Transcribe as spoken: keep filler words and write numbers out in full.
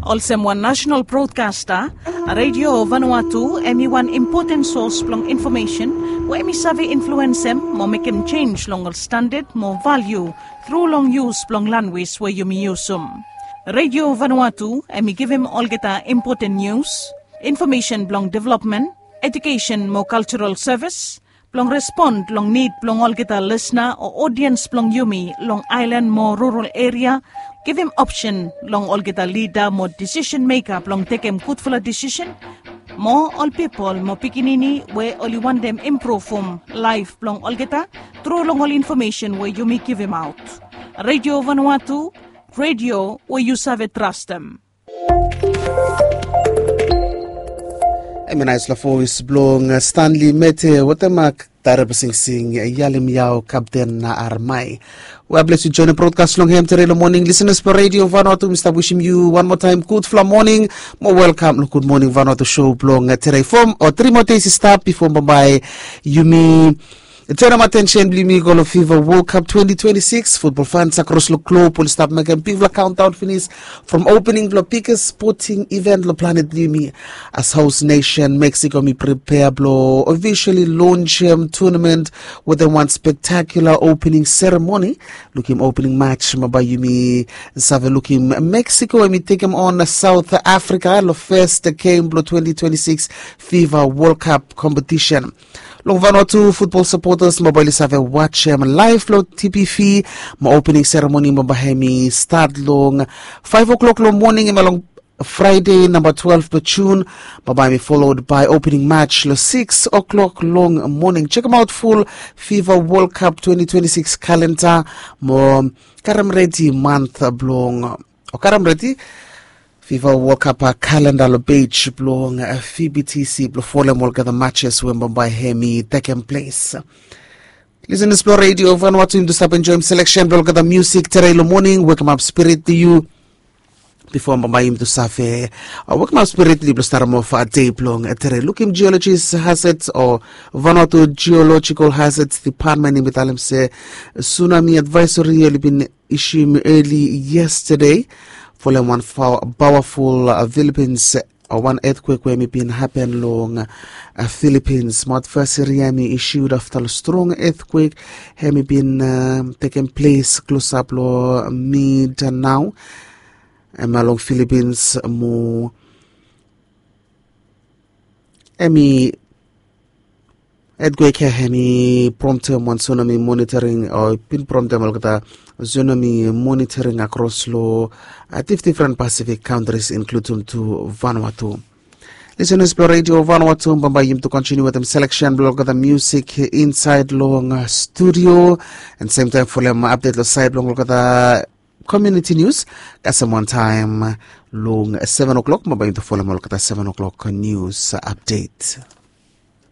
Olsem wan nasenal brodkasta, Radio Vanuatu em i wan impoten sos blong infomesen we em i save influensem mo mekem jenj long ol standad mo valiu tru long yus blong lanwis we yumi yusum. Radio Vanuatu em i givim olgeta impoten nius, infomesen blong developmen, ejukesen mo kaljaral sevis, blong respon long nid blong olgeta lisna o odiens blong yumi long aelan mo rural eria, givim opsen long olgeta lida mo disisen meka blong tekem gudfala disisen, mo ol pipol mo pikinini we oli wantem impruvum laef blong olgeta tru long ol infomesen we yumi givimaot. Radio Vanuatu, radio we yu save trastem. Em i naispela voes blong Stanley Mete wetem darebesingsing Yalim Yao Kapten na Armai. We a bles yu joinim brodkas long hem tere long moning, lisenas blong Radio Vanuatu, mi stap wisim yu wan moa taem gudfala moning mo welkam long Gud Moning Vanuatu show blong tere. Fo o tri moa deis i stap bifo bambae yumi tenem atensen blong yumi i go long Fifa World Cup twenty twenty-six. Futbol fans akros long glob oli stap mekem bigfala kaundaon finis from opening blong biges spoting iven long planet blong yumi. As host nation, Mexico mi pripea blong ofisiali lonsem tournament wetem wan spektakula opening seremoni. Lukim opening match bambae yumi save lukim Mexico em i tekem on South Africa long fes gem blong twenty twenty-six Fifa World Cup kompetisen. Long Vanuatu futbol sapotas bambae oli save wajem laef long T P V, mo opening seremoni bambae hem i stat long faef o'clock long moning, hemia long Fraede namba twelve blong Jun. Bambae hem i folod bae opening match long six o'clock long moning. Jekemaot ful Fifa World Cup twenty twenty-six kalenda mo karem redi mant blong o karem redi Fifa World Cup kalenda long pej blong F B T C blong folem olgeta matches we bambae hem i tekem ples. Lisenas blong Radio Vanuatu, yumi tu stap enjoem seleksen blong olgeta musik tere long moning, wekemap spirit blong yu. Bifo bambae yumi tu save wekemap spirit blong yu blong starem of dei blong tere. Lukim geologis hazard o Vanuatu Geological Hazards Department hem i talem se tsunami advisory oli bin isium eli yestade folem wan pawaful Filipins o wan etkwek we hem i bin hapen long Filipins. Mo advaesari ya hem i isiud afta long strong etkwek hem i bin tekem ples klosap long Mindanao, hemia long Filipins. Mo hem i etkwek ya hem i promtem wan tsunami monitoring o bin promtem olgeta tsunami monitoring akros long difdifren Pasifik kantris, inkludem tu Vanuatu. Lisenas blong Radio Vanuatu, bambae yumi tu kontiniu wetem seleksen blong olgeta musik insaed long studio, and semtaem folem apdet long saed blong olgeta komuniti nius. Kasem wantaem long seven o'clock, bambae yumi tu folem olgeta seven o'clock nius apdet.